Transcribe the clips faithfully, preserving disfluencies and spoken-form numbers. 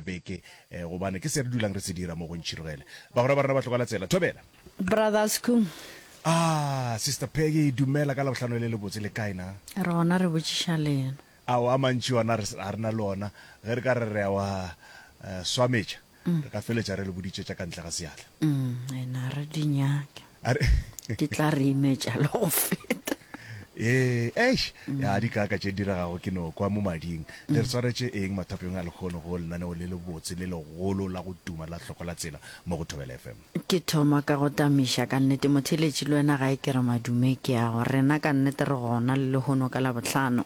beke, eh, gobane ke se re dulang re se dira mo go Ntšhirogele. Bagwera ba rena ba tlogela tsela. Thobela. Brother Sku. Ah, Sister Peggy, dumela ka Labohlano le lebotse, le kae na? Re gona re botšiša lena. Ao, a mantši ona re, ga re na le ona. Ge re ka re re a wa eh, swametša, re ka feletša re le boditše tša ka ntle ga seatla. Mm, ena re di nyake. A re Di tla re imetša le go feta. Ee, eish, ya di kaka tše diregago ke no kwa mo mading. Le re swaretše eng mathapeng a lekgono go lenaneo le lebotse le legolo la go tuma la Hloko la Tsela mo go Thobela F M? Ke thoma ka go tamiša ka nnete motheeletši le wena gae ke re madume ke a go rena ka nnete re gona le lehono ka Labohlano.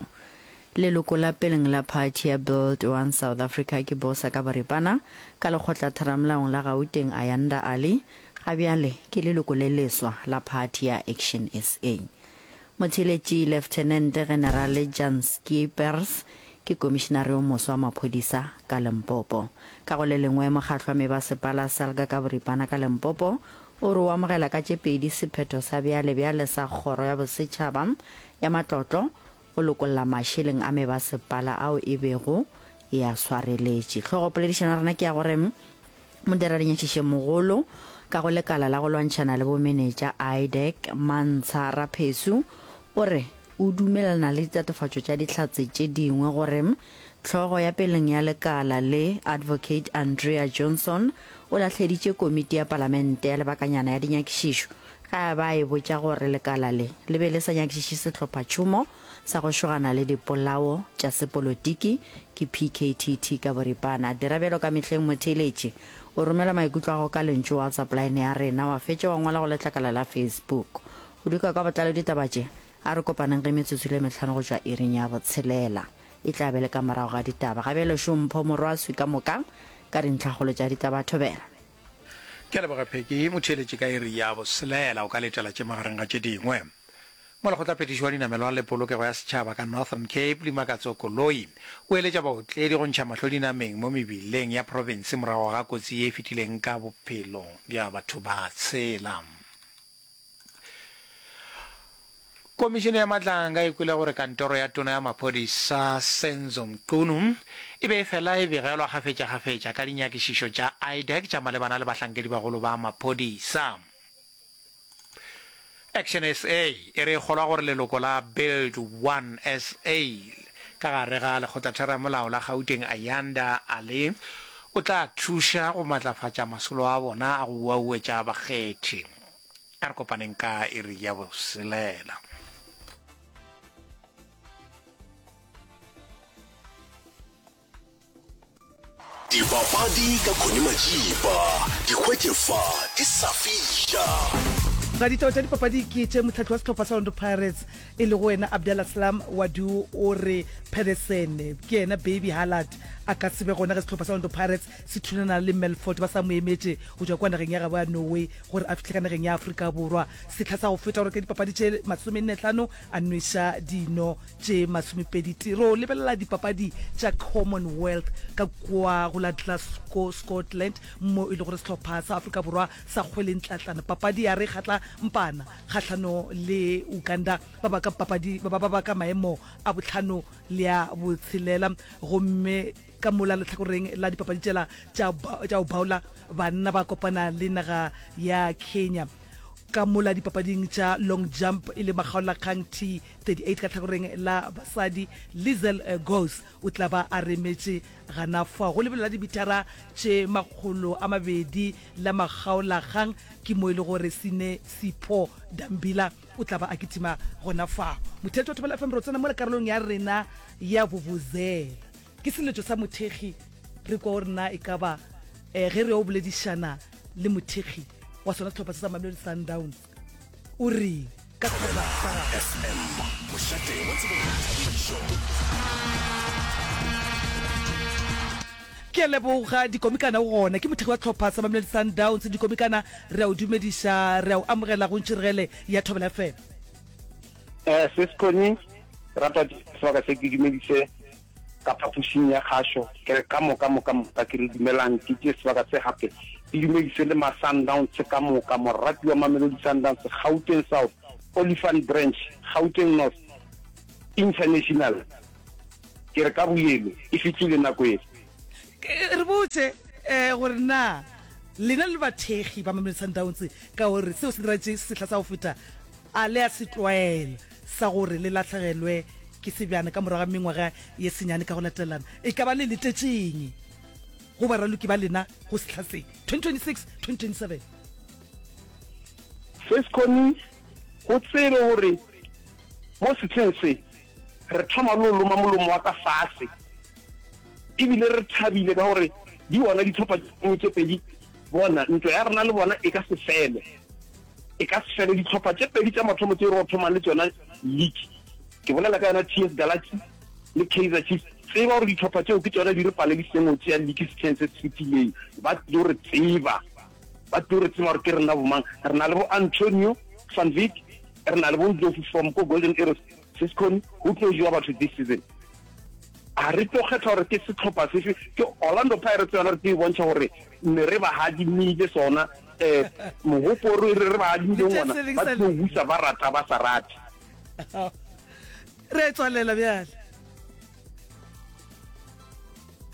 Leloko la peleng la phathi ya Build One South Africa ke Bosa ka boripana ka lekgotlatheramolaong la Gauteng Ayanda Ali ga bjale ke leloko le leswa la phathi ya Action S A. Motheeletši Leftenente Generale Jan Schippers ke komišinare yo moswa wa maphodisa ka Limpopo. Ka go le lengwe, mokgatlo wa mebasepala Salga ka boripana ka Limpopo o re o amogela ka tše pedi sephetho sa bjale-bjale sa Kgoro ya Bosetšhaba ya Matlotlo go lokolla mašeleng a mebasepala ao e bego e a swareletše. Hlogopoledišano ya rena ke ya gore Modiradinyatšišemogolo ka go lekala la go lwantšhana le bomenetša I D E C Mantsha Raphesu o re o dumelelana le ditatofatšo tša dihlatse tše dingwe gore hlogo ya peleng ya lekala le Advocate Andrea Johnson o lahleditše komiti ya palamente ya lebakanyana ya dinyakišišo ge a ba e botša gore lekala le le be le sa nyakišiše sehlophatšhomo sa go šogana le dipolao tša sepolotiki ke P K T T ka boripana. Dira bjalo ka mehleng motheeletši. O romela maikutlo a gago ka lentšu WhatsApp line ya rena wa fetša wa ngwala go letlakala la Facebook. Go duka ka botlalo ditaba tše, a re kopaneng ge metsotso le mehlano go tšwa iring ya botshelela. E tla be le ka morago ga ditaba. Ga bjale šo Mpho Morwaswi ka moka ka dintlhakgolo tša ditaba. Thobela. Ke a leboga Peggy. Motheeletši ka iri ya botshelela o ka letela tše magareng ga tše dingwe. Molekgotlaphethiši wa dinamelwa le polokego ya setšhaba ka Northern Cape, Limakatso Koloi, o eletša baotledi go ntšha mahlo dinameng mo mebileng ya profense morago ga kotsi ye e fetileng ka bophelo bja batho ba tshela. Komišene ya Matlanga e kwele gore kantoro ya tona ya maphodisa Senzo Mchunu e be e fela e begelwa kgafetšakgafetša ka dinyakišišo tša I D E C tša malebana le bahlankedibagolo ba maphodisa. Action S A e re e kgolwa gore leloko la Build One S A ka gare ga lekgotlatheramolao la Gauteng Ayanda Ali o tla thuša go matlafatša masolo a bona a go uauetša bakgethi. A re kopaneng ka iri ya boselela. Dipapadi ka Connie Majiba, di hwetše fa di sa fiša. Raditaba tša dipapadi ke tše mohlahli wa sehlopha sa Orlando Pirates e lego wena Abdeslam Ouaddou o re Pedersen ke yena Baby Haaland a ka se be gona ge sehlopha sa Orlando Pirates se thulana le Melfort ba sa mo emetše go tšwa kua nageng ya gabo ya Norway gore a fihle ka nageng ya Afrika Borwa sehla sa go feta gore ka dipapadi tše masomenne-hlano a nweša dino tše masomepedi tee. Ro lebelela dipapadi tša Commonwealth ka kua go la Glasgow, Scotland, mo e le gore sehlopha sa Afrika Borwa sa kgwele ntlatlana papadi ya re kgatla mpana kgahlano le Uganda ba ba ka papadi ba ba ka maemo a bohlano le a botshelela. Gomme ka mola lehlakoreng la dipapadi tšela tša tša go baola banna ba kopana le naga ya Kenya. Ka mola dipapading tša long jump e le makgaolakgang T thirty-eight ka tlhakoreng la basadi, Liezel Gous o tla ba a remetše gana fao. Go lebelo la dimithara tše makgolo a mabedi la makgaolakgang ke mo e le gore Sine Sipho Dambila o tla ba a kitima gona fao. Motheetši wa Thobela F M re tsena mola karolong ya rena ya vuvuzela. Ke seletšo sa mothekgi re kwa gore na e ka ba eh, ge re yo boledišana le mothekgi wa sona sehlopha se sa Mamelodi Sundowns o reng ka sehlopha sa gagwe. F M, mošate wa tsebo le boithabišo. Ke a leboga Dikomikana o gona. Ke mothekgi wa sehlopha sa Mamelodi Sundowns. Dikomikana re a o dumediša, re a o amogela go Ntšhiregele ya Thobela F M. Eh, Sis Connie, ke rata sebaka se ke dumedise ka phapošing ya kgašo, ke re ka moka, moka, moka, ke re dumelang, ke tšee sebaka se gape ke dumedise le ma-Sundowns ka moka, morati wa Mamelodi Sundowns, Gauteng South, Olifant Branch, Gauteng North, International, ke re ka boyelo, e fihlile nako ele. Re botše um gore na lena le bathekgi ba Mamelodi Sundowns ka gore seo se diragetše sehla sa go feta a le a se tlwaela sa gore le lahlegelwe ke sebjana ka morago ga mengwaga ye senyane ka go latelana. E ka ba le letetšeng go baraloki ba lena go sehla se twenty twenty-six twenty twenty-seven? Sesconi, go tsebe gore mo sehleng se re thoma le go loma molomo wa ka fase e bile re thabile ka gore di gona dihlopha tše dingwe tše pedi, bona ntwa ya rena le bona e ka se fele, e ka se fele. Dihlopha tše pedi tša mathomo tše re go thomang le tšona league, ke bolela ka yona T S Galaxy le Kaizer Chiefs, tseba gore dihlopha tšeo ke tšona di re palediseng go tšea league sehleng se se fetileng. Ba tlo re tseba, ba tlo re tseba gore ke rena bomang. Re na le bo Antonio van Wyk, re na le bo Ndlovu from ko Golden Arrows. Sescon, go tlo jewa batho this season. A re tlo kgetha gore ke sehlopha sefe, ke Orlando Pirates yona re tlo e bontšha gore ne re ba hadimile sona, um mogopo re re ba hadimileng ona, ba tlo busa ba rata ba sa rate. Re a tswalela bjale.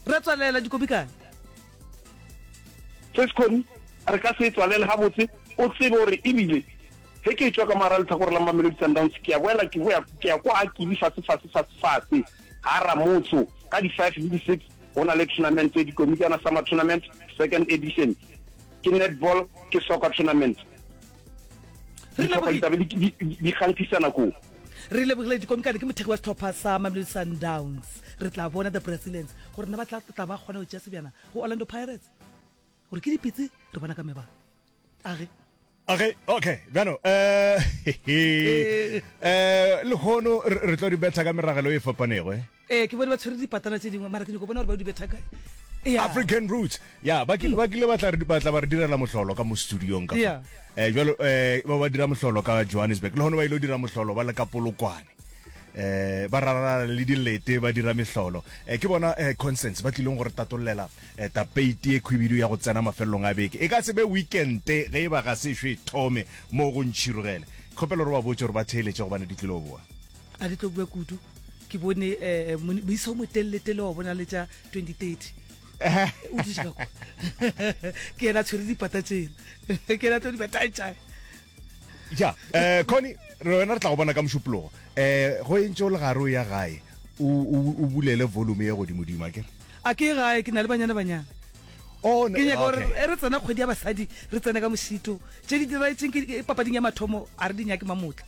Re a tswalela dikomikana. Sescon, re ka se e tswalele gabotse, o tsebe gore ebile ge ke etšwa ka mogara lehlakore la Mamelodi Sundowns, ke a boela ke boya ke ya kwa Akili fase fase fase fase ga Ramotso ka di five le di six go na le tournament dikomikana summer tournament second edition ke netball ke soccer tournament Re dihlopha di lebogile. tla be di, di, di kganthisana koo. Re lebogile dikomikana ke mothekgi wa sehlopha sa Mamelodi Sundowns. Re tla bona the Brazilians gore na ba tla tla ba kgona go tšea sebjana go Orlando Pirates gore ke dipitse re bona ka mebala. Age. Okay, okay, bjano eh eh lehono re re tlo di betha ka meragelo e fapanego eh. Ee, ke bone ba tshwere dipatana tše dingwe, mara ke nyako bona gore ba di betha kae. Ya. African Roots. Ya, ba kile ba kile ba tla re ba tla ba re direla mohlolo ka mo studiong ka fa. Ya. Eh jwalo eh ba ba dira mohlolo ka Johannesburg. Lehono ba ile go dira mohlolo ba le ka Polokwane. Eh ba rarara le dilete ba dira mehlolo. Eh ke bona eh Constance ba tlileng go re tatollela eh tapeiti e khwibidu ya go tsena mafelelong a beke. E ka se be weekend ge e ba ga se ešo e thome mo go ntšhirogele. Kgopelo re ba botše gore ba theeletše gobane di tlilo boa. A di tlo bua kudu. Ke bone eh moisa o motelletele wa bona le tša twenty thirty. O dutše ka kwa. Ke yena a tshwere dipata tšela. Ke yena a tlo di betantša. Ja, eh Connie, re wena re tla go bona ka Mošupologo. Eh go entše o le gare o ya gae, o o o bulele volume ye godimodimo, akere? A ke ye gae, ke na le Banyana Banyana. Oh, Ke nyaka gore okay. ge re tsena kgwedi ya basadi, re tsene ka mošito. Tše di diragetšeng ke papading ya mathomo, a re di nyake mamotla.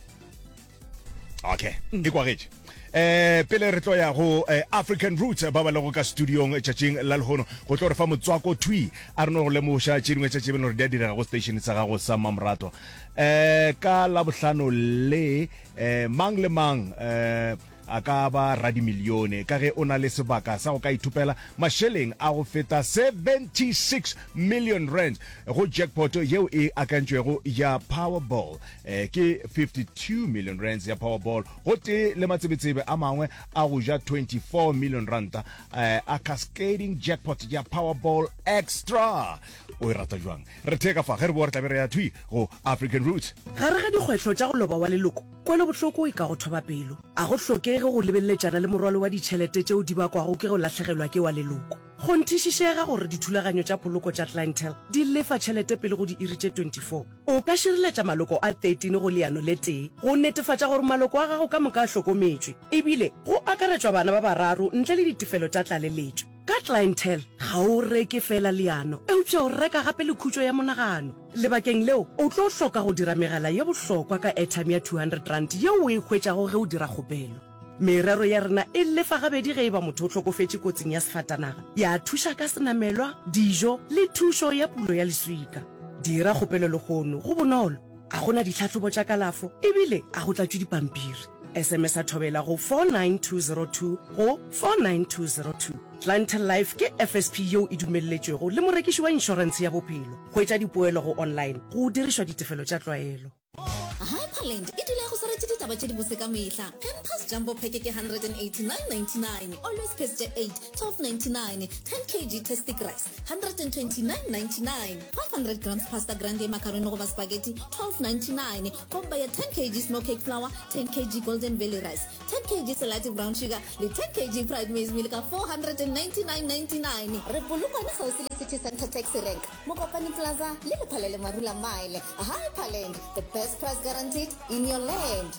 Okay, e kwagetše. Eh pele re tlo ya go eh, African Roots ba ba lego ka studiong tšatšing la lehono go tlo re fa motswako thwi a re no go lemoša tše dingwe tša tše beno gore di a direga go station sa gago sa Mamrato. Eh ka Labohlano le eh mang le mang eh a ka ba radimilione ka ge o na le sebaka sa go ka ithopela mašeleng a go feta seventy-six million rands go jackpot yeo e akantšwego ya Powerball. Ke fifty-two million rands ya Powerball gotee le matsebetsebe a mangwe a go ja twenty-four million ranta a cascading jackpot ya Powerball Extra. O e rata bjang? Re theka fa, ge re boa re tla be re ya thwi go African Roots. Gare ga dikgwehlo tša go loba wa leloko, kwelobohloko e ka go thoba pelo. A go hlokege go lebeleletšana le morwalo wa ditšhelete tšeo di bakwago ke go lahlegelwa ke wa leloko. Kgonthišišega gore dithulaganyo tša poloko tša Clientele di lefa tšhelete pele go diiri tše twenty-four. O ka šireletša maloko a thirteen go leano le tee go netefatša gore maloko a gago ka moka a hlokometšwe, ebile go akaretšwa bana ba bararo ntle le ditefelo tša tlaleletšo. Ka Clientele, ga o reke feela leano, eupša o reka gape le khutšo ya monagano. Lebakeng leo, o tlo hloka go dira megala ye bohlokwa ka airtime ya two hundred rand yeo o e hwetšago ge o dira kgopelo. Merero ya rena e lefa gabedi ge e ba motho o hlokofetše kotsing ya sefatanaga, ya thuša ka senamelwa, dijo le thušo ya pulo ya leswika. Dira kgopelo lehono, go bonolo, ga go na ditlhahlobo tša kalafo ebile ga go tlatšwe dipampiri. S M S a Thobela go four nine two zero two go four nine two zero two. Clientele Life ke F S P yeo e dumelletšwego le morekiši wa inšorentshe ya bophelo. Hwetša dipoelo go online go dirišwa ditefelo tša tlwaelo. Hyperland e dula e go swaretše ditaba ditaba tše dibotse ka mehla. Pampers Jumbo Pack ke hundred and eighty nine ninety nine, Always Pads tše eight, twelve ninety nine, ten kg Tastic Rice, hundred and twenty nine ninety nine, five hundred grams Pasta Grande macaroni goba spaghetti, twelve ninety nine, Komba ya ten kg Snow Cake Flour, ten kg Golden Valley Rice, ten kg Selati Brown Sugar le ten kg Pride Maize Meal ka four hundred and ninety nine ninety nine. Re Polokwane kgauswi le City Centre Taxi Rank, Mokopane Plaza le Lephalele Marula Mile. Hyperland, the best price guaranteed in your land.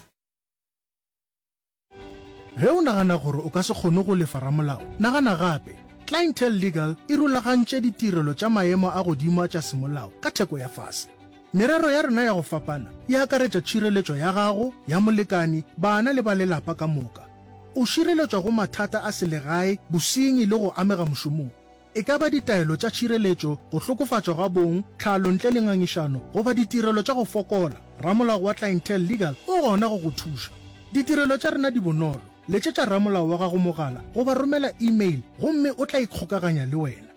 Ge o nagana gore o ka se kgone go lefa ramolao, nagana gape. Clientele Legal e rulagantše ditirelo tša maemo a godimo tša semolao ka theko ya fase. Merero ya rena ya go fapana e akaretša tšhireletšo ya gago, ya molekani, bana le ba lelapa ka moka. O šireletšwa go mathata a selegae, bosenyi le go amega mošomong. E ka ba ditaelo tša tšhireletšo, go hlokofatšwa ga bong, tlhalo ntle le ngangišano goba ditirelo tša go fokola, ramolao wa Clientele Legal o gona go go thuša. Ditirelo tša rena di bonolo. Letšetša ramolao wa gago mogala goba romela email gomme o tla ikgokaganya le wena.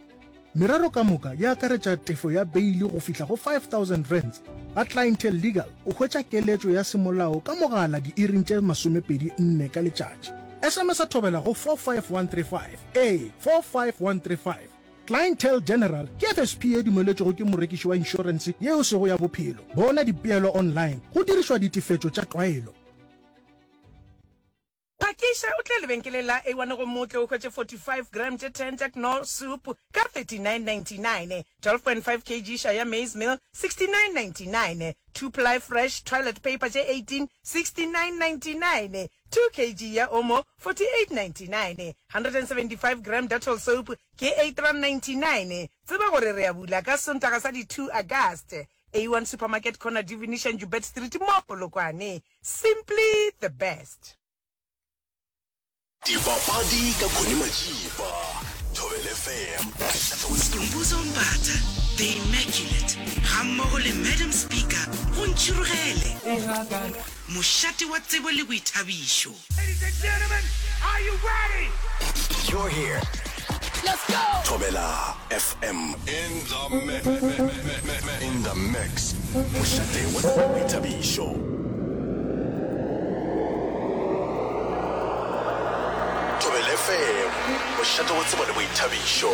Merero ka moka e akaretša tefo ya beili go fihla go five thousand rands. Ga Clientele Legal o hwetša keletšo ya semolao ka mogala diiring tše masomepedi nne ka letšatši. S M S a thobela go four five one three five, ee, four five one three five. Clientele General ke F S P ye dumeletšwego ke morekiši wa inšorense ye e sego ya bophelo. Bona dipeelo online go dirišwa ditefetšo tša tlwaelo. Phakiša o tle lebenkeleng la A one gomme o tle o hwetše forty five gram tše ten tša Knorr soup ka thirty nine ninety nine, twelve point five kg Shaya maize meal sixty nine ninety nine, two ply fresh toilet paper tše eighteen sixty nine ninety nine, two kg ya Omo forty eight ninety nine, hundred and seventy five gram Dettol soap ke eight rand ninety nine. Tseba gore re a bula ka Sontaga sa di two August. A one Supermarket corner Divination Joubert Street mo Polokwane. Simply the best. Dipapadi ka Connie Majiba, Thobela F M. Skhumbuzo Mbatha, The Immaculate, gammogo le Madam Speaker go Ntšhirogele, mošate wa tsebo le boithabišo. Ladies and gentlemen, are you ready? You're here. Let's go! Thobela F M. In the mix. In the mix. Mošate wa tsebo le boithabišo. Thobela F M. Mošate wa tsebo le boithabišo.